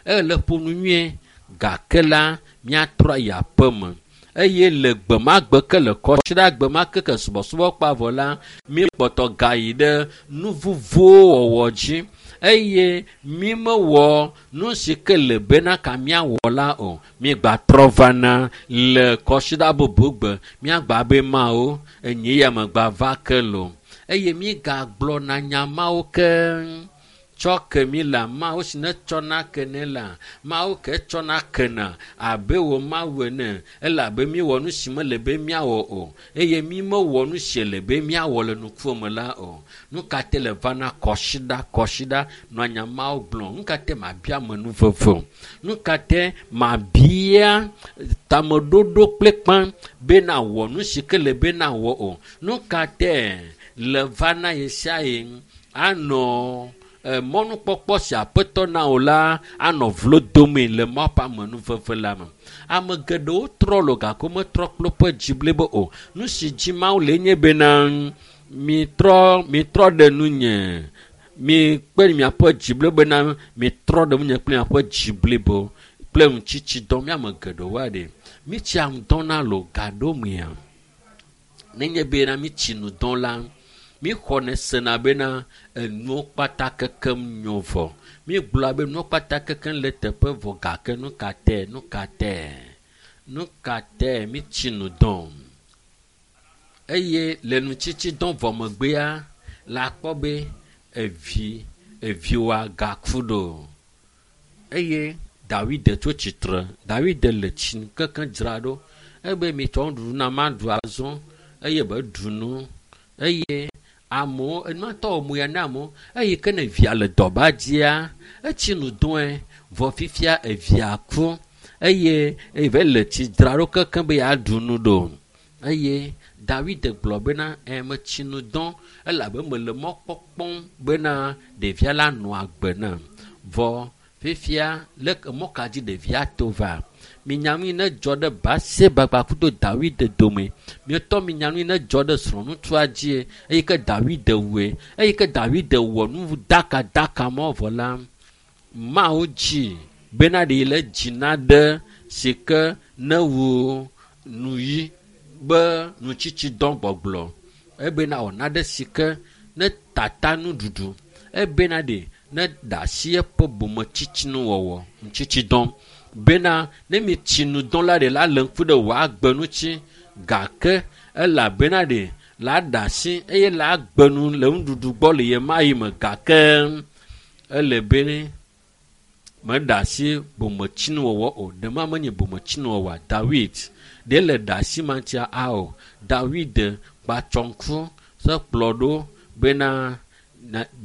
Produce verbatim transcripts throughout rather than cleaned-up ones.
Ele ƒo nu nyuie gake la míatrɔ ayi aƒe me. Eye le gbe ma gbe ke le kɔsiɖa gbe ma ke ke subɔsubɔ kpa vɔ la, míekpɔtɔ gayi ɖe nu vovowo wɔwɔ dzi eye mímewɔ nu si ke le bena ka míawɔ la o. Míegbatrɔ vana le kɔsiɖa bubu gbe míagba be mawo enyi ya megba va ke lo eye míegagblɔna nya mawo ke tsɔ ke mi la mawo si ne tsɔna ke ne la mawo ke tsɔna kena abe wò mawu ene elabe míewɔ nu si mele be míawɔ o eye mímewɔ nu si le be míawɔ le nukuo me la o. Nu ka te le vana kɔsiɖa kɔsiɖa nɔ nya mawo gblɔm? Nu ka te mabia ame nu veve o? Nu ka te mabia tameɖoɖo kple kpã be nawɔ nu si ke le be nawɔ o? Nu ka te le vana ɣe sia ɣi anɔ mɔnukpɔkpɔ si aƒetɔ na wò la anɔ vlo dome le Mawu ƒe amenuveve la me. Ame geɖewo trɔ lo gake wometrɔ kple woƒe dzi blibo o. Nu si dzi Mawu le nye bena mitrɔ mitrɔ ɖe nunye mikpe miaƒe dzi blibo bena mitrɔ ɖe nunye kple miaƒe dzi blibo kple ŋutsitsidɔ míame geɖewo aɖe. Mitsia ŋudɔ na lo gaɖo mea. Nenye bena mitsi nu dɔ la, míxɔnɛ sena bena enuwo kpata kekem nyo vɔ. Mígblɔa be nuwo kpata kekem le teƒe vɔ gake nu ka te nu ka te nu ka te mitsi nu dɔm. Eye le nutsitsidɔ vɔ megbea la kpɔ be evi eviwoa gaku ɖo. Eye Dawide tso tsitre. Dawide le tsi kekem dzra ɖo. Ebe mitsɔ nuɖuɖu na maɖu azɔ eye be ɖu nu eye amewo enua tɔ wɔ mo ya na amewo eye ke ne via le dɔba dzia etsi nu dɔe vɔ fifia evia ku eye eve le tsi dzra ɖo kekem be yeaɖu nu ɖo eye Dawide gblɔ bena ɛ metsi nu dɔ elabe mele mɔ kpɔkpɔm bena ɖevia la nɔ agbe nam vɔ fifia le mɔ ka dzi ɖevia to va minya nu yi ne dzɔ ɖe Batseba kpakudo Dawide dome mietɔ minya nu yi ne dzɔ ɖe srɔ̃ŋutsua dzie eyi ke Dawide wɔe eyi ke Dawide wɔ nu dakadaka mɔ vɔ la Mawu dzi bena ɖe le dzi na ɖe si ke ne wu nu yi be nutsitsidɔ gbɔgblɔ ebena wɔ naɖe si ke ne tata nuɖuɖu ebena ɖe ne da asi eƒe bometsitsinuwɔwɔ nutsitsidɔ bena ne mitsi nu dɔ la ɖe la le ŋku ɖe wò agbe ŋuti gake elabena ɖe la ɖe asi eye la gbe nu le nuɖuɖu gbɔ le ɣe ma ɣi me gake ele be meɖe asi bometsinuwɔwɔ o. Ɖe ma menye bometsinuwɔwɔa Dawid ɖe le ɖe asi ma ŋutia ao. Dawid kpatsɔ ŋku se kplɔ ɖo bena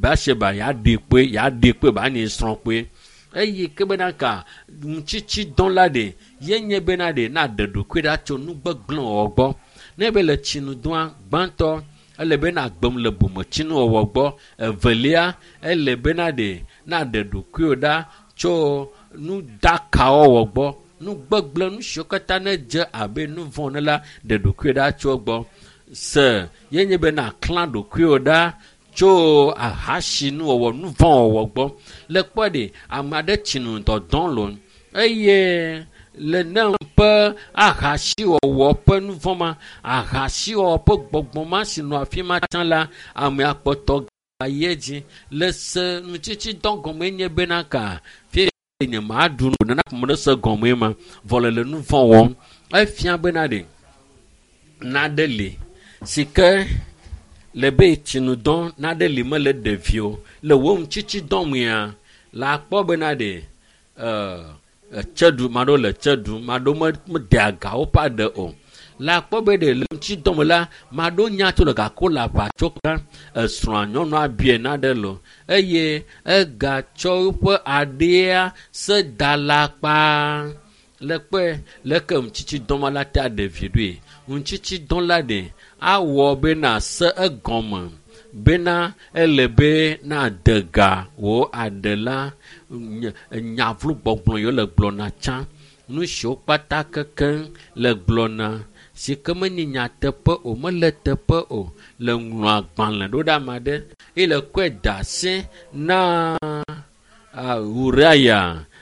Batseba yeaɖe kpoe yeaɖe kpoe ba nye srɔ̃ kpoe eye ke bena ka nutsitsidɔ la ɖe ye nye bena ɖe na ɖe ɖokui ɖa tso nu gbegblẽ wɔwɔ gbɔ. Ne be le tsinudɔa gbãtɔ ele be na gbem le bometsinuwɔwɔ gbɔ. Evelia ele bena ɖe na ɖe ɖokuiwò ɖa tso nu dakawɔwɔ gbɔ. Nu gbegblẽ nu siwo katã ne dze abe nu vɔ̃ ene la ɖe ɖokuiwò ɖa tso egbɔ. Se ye nye be na klã ɖokuiwò ɖa tso ahasinuwɔwɔ nu vɔ̃ wɔwɔ gbɔ. Le kpɔ ɖe ame aɖe tsi nu dɔdɔm lo eye le ne ƒe ahasiwɔwɔ ƒe nu vɔ̃ ma ahasiwɔwɔ ƒe gbɔgbɔ ma si nɔ afi ma tsã la amea kpɔtɔ gayi edzi le se nutsitsidɔ gɔme nye bena ka fie nye maɖu nu nana ƒome ɖe se gɔme ma vɔ le le nu vɔ̃ wɔm efia bena ɖe naɖe li si ke le be tsinudɔ naɖe li mele ɖevi o le wo ŋutsitsidɔ mea la kpɔ bena ɖe ɛɛ tse ɖu maɖewo le tse ɖum maɖewo mede aga woƒe aɖe o la kpɔ be ɖe le ŋutidɔ me la maɖewo nya tso le gake wole aʋatso kam esrɔ̃a nyɔnua biɛ naɖe lo eye egatsɔ eƒe aɖea se da la kpaa le kpɔe leke ŋutsitsidɔ ma la te aɖe vi ɖoe ŋutsitsidɔ la ɖe awɔ bena se egɔme bena ele be na de ga wò aɖe la nyavlu gbɔgblɔ yiwo le gblɔna tsã nu siwo kpata kekeŋ le gblɔna si ke menye nyateƒe o mele teƒe o le ŋlɔ agbalẽ ɖo ɖe ame aɖe eye le kɔe da asi na Uriah.